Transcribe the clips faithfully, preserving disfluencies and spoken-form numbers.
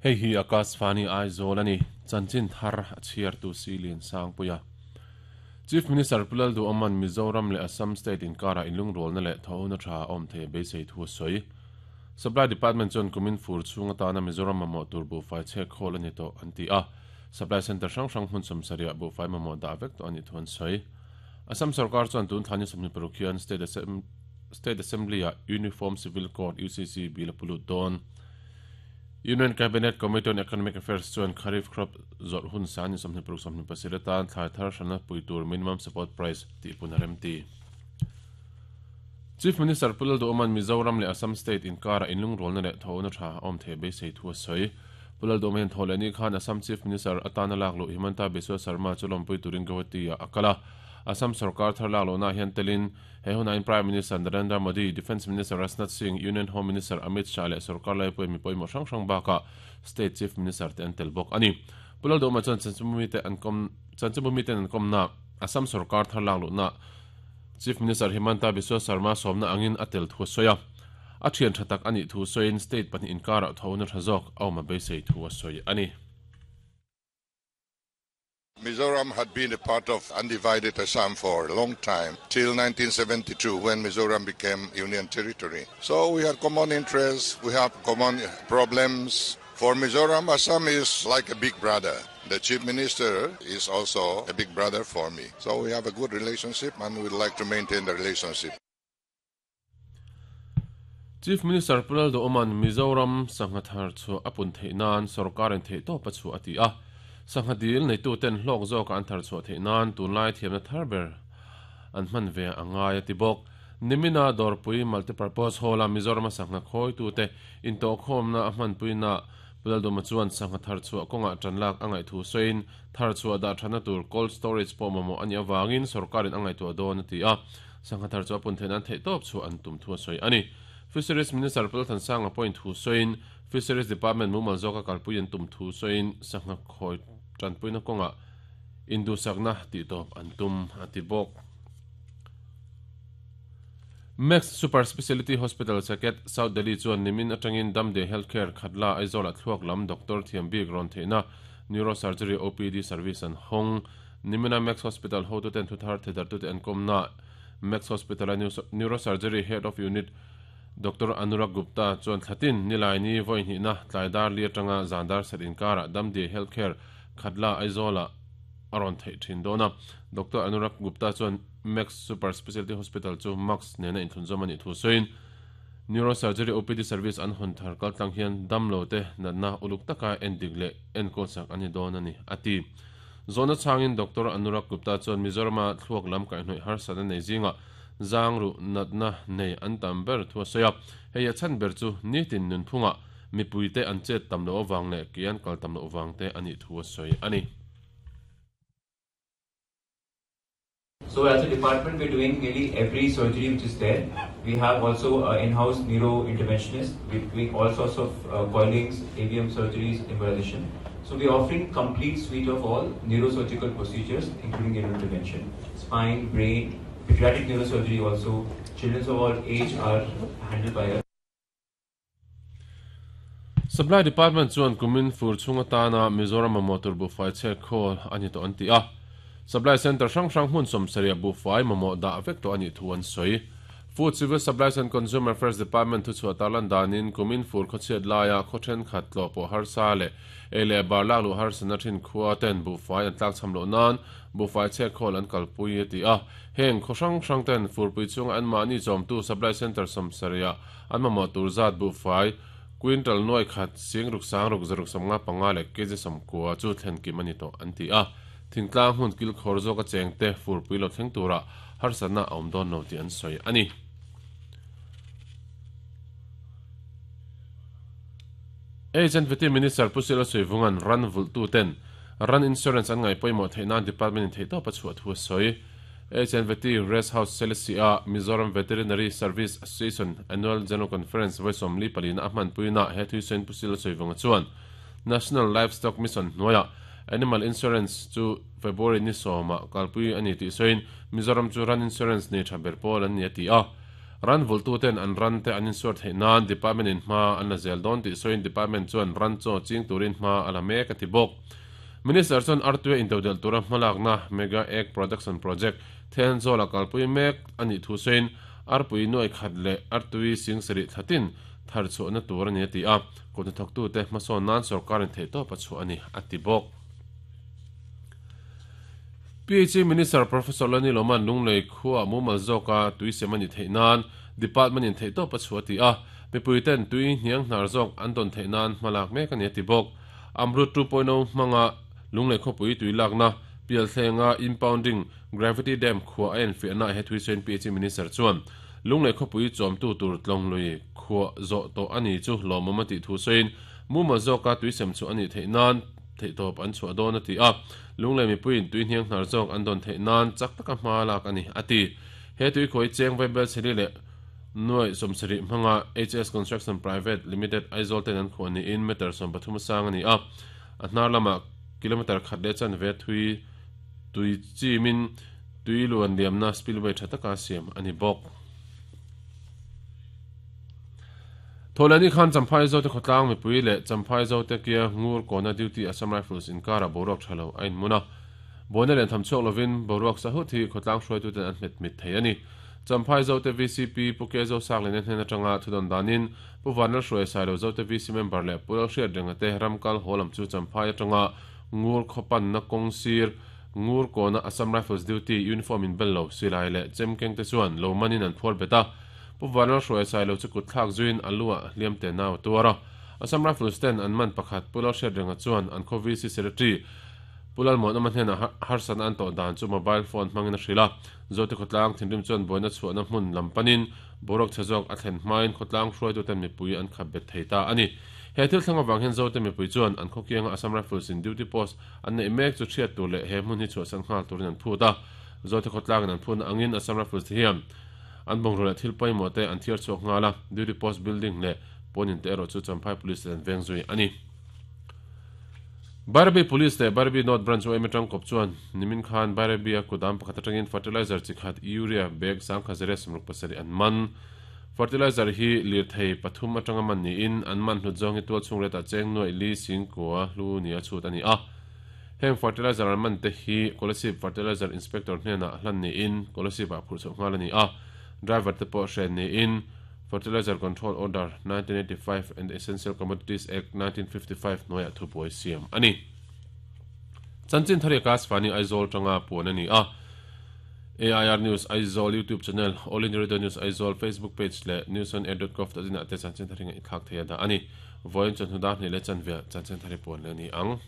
Hei hi Akashvani Aizawl ani chanchin thar a chhiar tu Silin Sangpuia. Chief Minister Pulal Du Oman Mizoram le Assam State in kara inlung rol na le thona tha om the beisei thu soi. Supply Department chon kumin fur chunga ta na Mizoram mamo tur bu fai che khol ani to anti a. Supply Center hrang hrang hun som saria bu fai mamo da vek to ani thon soi. Assam Sarkar chon tun thani somni parukhian State Assembly State Assembly a Uniform Civil Code U C C bill pulut don. Union Cabinet Committee on Economic Affairs chuan Kharif crop zor hun san somni paruk somni pasiratan thlai thar hrana puitur minimum support price ti punarem ti. Chief Minister Pulal Du Oman Mizoram le Assam State in kara inlung rol na le thona tha om the be sei thu soi. Pulal Du Oman tholani khan Assam Chief Minister atana laklo Himanta Biswa Sarma chulom pui turin Guwahati akala. Assam Sarkar thar laklo na hian telin he hunain Prime Minister Narendra Modi, Defence Minister Rajnath Singh, Union Home Minister Amit Shah le Sarkar lai pui mi pawimawh hrang hrang baka State Chief Minister te an tel bawk ani. Pulal Du Oman chuan chanchinbumi te an kom chanchinbumi ten an kom na Assam Sarkar thar laklo na Chief Minister Himanta Biswa Sarma somna angin atel thu soya. A thian thatak ani thu soin state pahnih inkara thona thazok awma beisei thu soi ani. Mizoram had been a part of undivided Assam for a long time, till nineteen seventy-two when Mizoram became Union territory. So we had common interests, we have common problems. For Mizoram, Assam is like a big brother. The Chief Minister is also a big brother for me. So we have a good relationship and we'd like to maintain the relationship. Chief Minister Pulal Du Oman Mizoram sanghathar chu apun theinan sarkar in thei to pachu ati a. Sanghadil nei tu ten hlok zawk an thar chu theinan tunlai thiamna tharber an hman ve angai ati bawk. Nimina Dorpui Multipurpose Hall a Mizoram sangha khoi tu te in to khomna a hman puina Pulal Du Oman chuan sangha thar chu konga tanlak angai thu soin thar chu da thana tur cold storage pawh mamawh ani awangin sarkarin angai tu dawn ati a. Sangha thar chu apun theinan thei tawp chu an tum thu soi ani. Fisheries Minister Pulal Thansang appoint thu soin Fisheries Department mumal zawka kalpui an tum thu soin sangha khoi tanpuina konga indu sakna ti tawp an tum ati bawk. Max Super Speciality Hospital Saket South Delhi chuan nimin atangin Damde Healthcare Khatla Aizawl a thluak lam Doctor Thiambik rawn theihna Neurosurgery O P D service an hawng. Nimina Max Hospital hotu ten thuthar thedar tu te an kawmna Max Hospital a Neurosurgery Head of Unit Doctor Anurag Gupta chuan thlatin nilaini vawihnihna tlaidar li atanga zandar set inkara Damde Healthcare Khatla Aizawl a rawn theih thin dawna. Doctor Anurag Gupta chuan Max Super Specialty Hospital chu Max nena inthlunzawm ani thu sawiin Neurosurgery O P D service an hawn thar kaltlang hian damlo te natna uluk taka endik leh enkawl sak ani dawn ani ati. Zona changin Doctor Anurag Gupta chuan Mizorama thluak lam kaihhnawih harsatna nei zinga zangru natna nei an tam ber thu a sawi a. Hei a chhan ber chu nitin nunphunga mipui te an chet tam lo awang leh ke an kal tam lo awang te ani thu a sawi ani. So as a department, we're doing nearly every surgery which is there. We have also an in-house neuro interventionist. We're doing all sorts of uh, coilings, A V M surgeries, embolization. So we're offering complete suite of all neurosurgical procedures, including neuro intervention, spine, brain, pediatric neurosurgery also. Children of all age are handled by us. Supply Department chuan kumin fur chunga tana Mizoram motor bu fai che khol ani to anti a. Supply Center hrang hrang hmun som saria bu fai mamawh dah vek to ani thu an sawi. Food Civil Supplies and Consumer Affairs Department thu chhuah tarlan danin kumin fur khawchhiat laia khawthen khat tlaw pawh harsa leh ei leh bar lak luh harsana thin khua ten bu fai an tlak cham loh nan bu fai che khawl an kalpui ati a. Heng khaw hrang hrang ten furpui chunga an mahni chawmtu Supply Center som saria an mamawh tur zat bu fai quintal nuai khat sing ruk sang ruk zaruk samnga panga leh kg samkua chu thlen kim ani to an ti a. Thingtlang hun kil khawr zawk a cheng te furpui lo thleng tura harsatna a awm dawn lo tih an sawi ani. Agent Veti Minister Pusila Suivungan ran vultu ten ran insurance an ngai pawimawh theihnan department in theih tawp a chhuah thu a sawi. Agent Veti Rest House Selesia Mizoram Veterinary Service Association Annual General Conference vawisom li palina a hman puina he thuisain Pusila Suivunga chuan National Livestock Mission hnuaia Animal Insurance chu February ni sawma kalpui ani tih sawiin Mizoram chu ran insurance nei tha ber pawl an ni a ti a. Ran vultu ten an ran te an insur thei nan department in hma an la zel don ti soin department chuan ran chaw ching turin hma ala mek ati bawk. Minister chuan artue intodel tura hmalak na Mega Egg Production Project then zola kalpui mek ani thu soin arpui noi khat le artui sing sari thatin thar chu na tur ani ti a ko na thok tu te hmasawn nan sarkar in thei to pa chu ani ati bawk. P H E Minister Professor Lani Loman Lunglei khuwa mumal zoka tui semani theinan department in thei to pa chu ati a mipuiten tui hniang hnar zawk an don theinan hmalak mek ani ati bawk. Amrut two point oh hmanga Lunglei khawpui tui lakna pial thlenga impounding gravity dam khuwa a en fiahna he thui sain P H E Minister chuan Lunglei khawpui chawm tu tur tlawng lui khuwa zawh tawh ani chu lawmawm a tih thu sain mumal zawka tui sem chu ani theinan thei tawp an chhuah dawn a ti a Lunglei mipuiin tui hniang hnar zawk an don theinan chak taka hma lak ani ati he tui khawi cheng vaibel cheli le nuai sawmsarih hmanga H S Construction Private Limited Aizawl ten an khuah niin meter sawm pathum sang ani a a hnar lama kilometer khat le chan ve thui tui chimin tui luan liamna spillway tha taka siam ani bawk. Tholani khan Champhai zo te khawtlang mipui le Champhai zo te kia ngur kona duty Assam Rifles inkara boruak thalo a inmuna bona len tham chhuak lovin boruak sahu thi khawtlang hruai tu ten an hmet mit thei ani. Champhai zo te V C P Puke zo sak len hnen atanga thudon danin Puvanal hruai sailo zo te V C member le Pulal hriat renga te ramkal holam chu Champhai atanga ngur khopan na kawngsir ngur kona Assam Rifles duty uniform in bello silai le chemkeng te chuan lo manin an phuar beta Puvanal hruai sailo chu kut thlak zuin alua hliam te nau tuara Assam Rifles ten an man pakhat Pulal hriat renga chuan an khaw V C secretary Pulal mon aman hena harsan an to dan chu mobile phone hmangin a hrila zote khawtlang thinrim chuan boina chhuahna hmun lampanin boruak chhe zawk a thlen hmain khawtlang hruai tu ten mipui an khap bet thei ta ani. He thil thleng awang hian zote mipui chuan an khawkianga Assam Rifles in duty post an nei mek chu thiat tur leh he hmun hi chhuahsan nghal turin an phut a zote khawtlang in an phun angin Assam Rifles te hian an bawngro leh thil pawimawh te an thiar chhuak nghal a duty post building leh pawnin te erawh chu Champhai Police ten veng zui ani. Barbie Police te Barbie North Branch O M atang kawp chuan nimin khan Barbie a kudam pakhat atangin fertilizer chi khat urea bag sangkha zere sawmruk pasarih an man. Fertilizer hi lir thei pathum atanga man niin an man hlut zawng hi tual chhung retah cheng nuai li singkua hlu ni a chhut ani a. Heng fertilizer an man te hi Kolasib Fertilizer Inspector hnenah hlan niin Kolasib ah phurh chhoh nghal ani a. Driver te pawh hren niin Fertilizer Control Order nineteen eighty-five and Essential Commodities Act nineteen fifty-five hnuaiah thubuai siam ani. Chanchin thari ka Svani Aizawl tanga puan ani a. A I R News Aizawl YouTube channel, All India Radio News Aizawl Facebook page le news on air dot gov dot in ah te chanchin thari nga i thlak thei a dah ani. Vawiin chuan hnudah hnih le chanve chanchin thari puan le ani ang.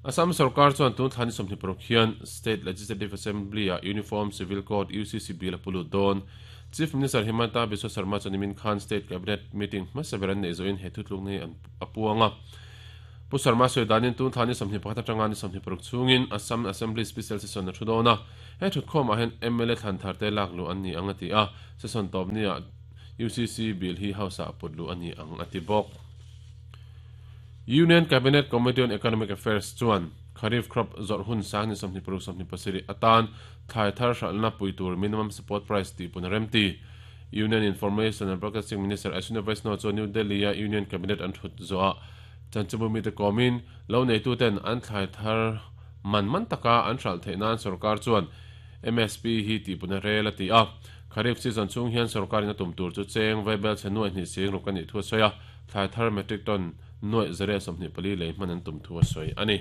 Assam Sarkar chuan tun thlani sawmhnih paruk hian State Legislative Assembly a Uniform Civil Code U C C bill a pulu dawn. Chief Minister Himanta Biswa Sarma chuan nimin khan State Cabinet meeting hmasaber an nei zawin he thutluk nei an a puanga. Pu Sarma sawi danin tun thlani sawmhnih pakhat atanga ni sawmhnih paruk chungin Assam Assembly Special Session a thu dawn a. He thutkhawm ah hian M L A thlan thar te lak lu an ni ang a ti a. Session tawp ni ah U C C bill hi house ah put lu ani ang a ti bawk. Union Cabinet Committee on Economic Affairs chuan Kharif crop zawrh hun sang ni sawmhnih paruk sawmhnih pasarih atan thlai thar hralhna pui tur minimum support price tih pun a rem ti. Union Information and Broadcasting Minister Ashwini Vaishnaw chuan New Delhi a Union Cabinet an thut zawh chanchimumi te kawmin lo nei tu ten an thlai thar man man taka an hralh theih nan sarkar chuan M S P hi tih pun a rel a ti a. Kharif season chung hian sarkarin a tum tur chu cheng vaibel chhe nuai hnih sing ruk ani thu a sawi a. Thlai thar metric ton nuai zare sawmhnih pali lei hman an tum thu a sawi ani.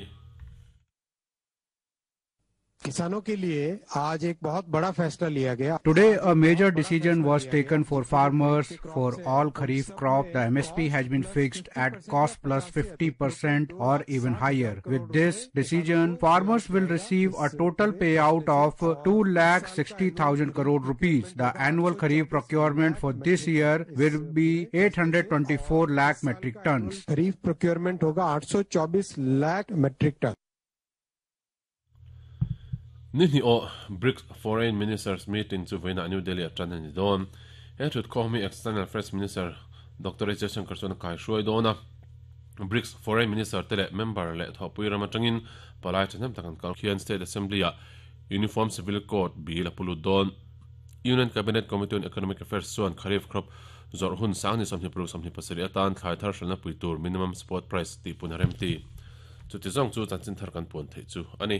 किसानों के लिए आज एक बहुत बड़ा फैसला लिया गया। Today a major decision was taken for farmers for all kharif crop. The M S P has been fixed at cost plus fifty percent or even higher. With this decision, farmers will receive a total payout of two lakh sixty thousand crore rupees. The annual kharif procurement for this year will be eight hundred twenty-four lakh metric tons. Kharif procurement होगा आठ सौ चौबीस lakh metric ton. Ni hni o BRICS Foreign Ministers meeting chu voina New Delhi atran ani don. He thut khomi External Affairs Minister Doctor S Jaishankar chuan kai hruai dona. BRICS Foreign Minister tele member le thopui ram atangin palai thanem takan kal khian State Assembly a Uniform Civil Code bill a pulu don. Union Cabinet Committee on Economic Affairs chuan kharif crop zawrh hun sang ni sawmhnih paruk sawmhnih pasarih atan thlai thar hralhna pui tur minimum support price tih pun a rem ti. Chuti zawng chu chanchin thar kan puan theih chu a ni.